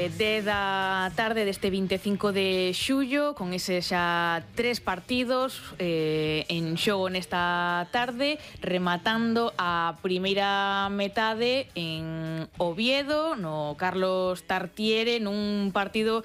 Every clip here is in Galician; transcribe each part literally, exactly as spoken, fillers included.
eh, dez da tarde deste vinte e cinco de xullo, con ese xa tres partidos eh, en xogo nesta tarde, rematando a primeira metade en Oviedo, no Carlos Tartiere, nun partido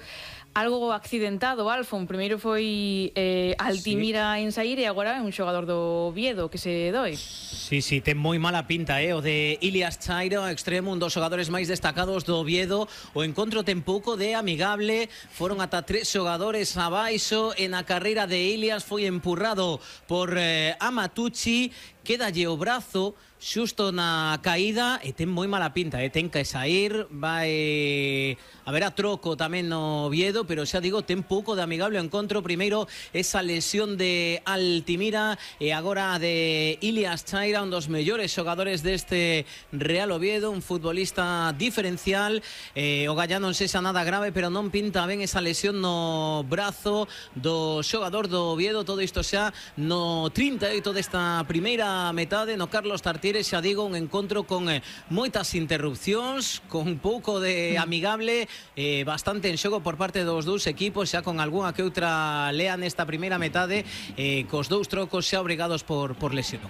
algo accidentado, Alfon. Primeiro foi eh, Altimira sí. en saír e agora é un xogador do Oviedo que se doi. Sí, sí, ten moi mala pinta, eh? O de Ilias Chairo, extremo, un dos xogadores máis destacados do Oviedo. O encontro ten pouco de amigable, foron ata tres xogadores abaixo, e na carreira de Ilias foi empurrado por eh, Amatucci, quédalle o brazo xusto na caída e ten moi mala pinta, eh? Ten que sair, vai haber a troco tamén no Oviedo, pero xa digo, ten pouco de amigable o encontro. Primeiro esa lesión de Altimira e agora de Ilias Chaira, un dos mellores xogadores deste Real Oviedo, un futbolista diferencial. eh, o Gallá non sexa nada grave, pero non pinta ben esa lesión no brazo do xogador do Oviedo. Todo isto xa no trinta e oito desta primeira metade no Carlos Tartiere. Xa digo, un encontro con eh, moitas interrupcións, con pouco de amigable, eh, bastante en xogo por parte dos dous equipos, xa con algunha que outra lea nesta primeira metade, eh, cos dous trocos xa obrigados por, por lesión.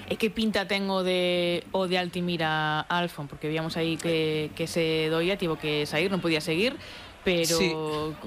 E que pinta ten o de, o de Altimira, Alfon? Porque víamos aí que, que se doía, tivo que sair, non podía seguir, pero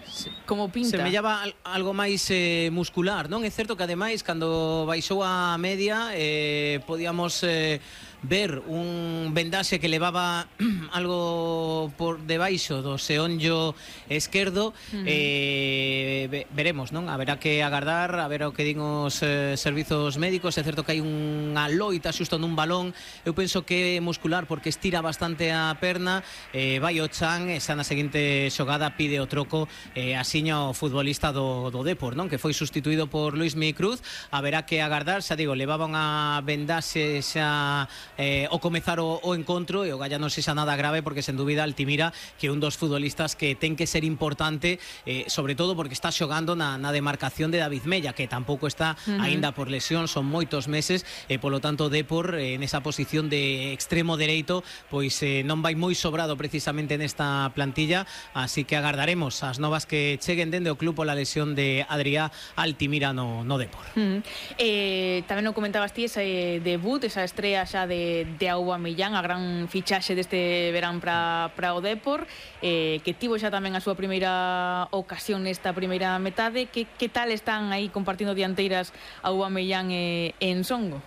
sí, como pinta? Semellaba algo máis eh, muscular, non? É certo que ademais cando baixou a media eh, podíamos eh, ver un vendaxe que levaba algo por debaixo do xeonllo esquerdo. uh-huh. eh, veremos, non? Haberá que agardar a ver o que din os eh, servizos médicos. É certo que hai unha loita xusto nun balón, eu penso que é muscular porque estira bastante a perna. eh, vai o chan e xa na seguinte xogada pide o troco, eh, asiña o futbolista do, do Depor, non? Que foi sustituído por Luismi Cruz. Haberá que agardar, xa digo, levaba unha vendaxe xa eh, o comezar o, o encontro, e o Gallá non sexa nada grave, porque sen dúbida Altimira que é un dos futbolistas que ten que ser importante, eh, sobre todo porque está xogando na, na demarcación de David Mella, que tampouco está uh-huh. aínda por lesión, son moitos meses, e polo tanto Depor eh, nesa posición de extremo dereito pois eh, non vai moi sobrado precisamente nesta plantilla, así que agardaremos as novas que cheguen dende o club pola lesión de Adrià Altimira no, no Depor. Uh-huh. eh, tamén o comentabas ti, ese debut, esa estrella xa de, de Aubameyang, a gran fichaxe deste verán para o Depor, eh, que tivo xa tamén a súa primeira ocasión nesta primeira metade. Que, que tal están aí compartindo dianteiras Aubameyang e, e Ensongo?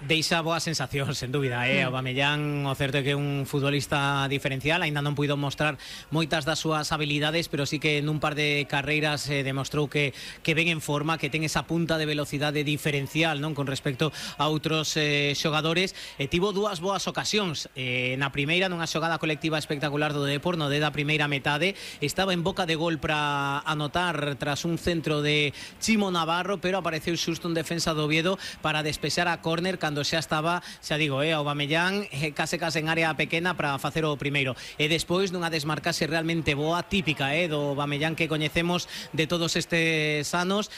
Deixa boa sensación, sen dúbida, eh? Aubameyang, o certo é que é un futbolista diferencial, aínda non puido mostrar moitas das súas habilidades, pero sí que nun par de carreiras eh, demostrou que, que ven en forma, que ten esa punta de velocidade diferencial, non? Con respecto a outros eh, xogadores. E tivo dúas boas ocasións. Eh, na primeira, nunha xogada colectiva espectacular do Depor, no de da primeira metade, estaba en boca de gol para anotar tras un centro de Chimo Navarro, pero apareceu xusto un defensa do Oviedo para despexar a córner, cando xa estaba, xa digo, eh, Aubameyang eh, case case en área pequena para facer o primeiro. E despois nunha desmarcase realmente boa, típica eh, do Aubameyang que coñecemos de todos estes anos.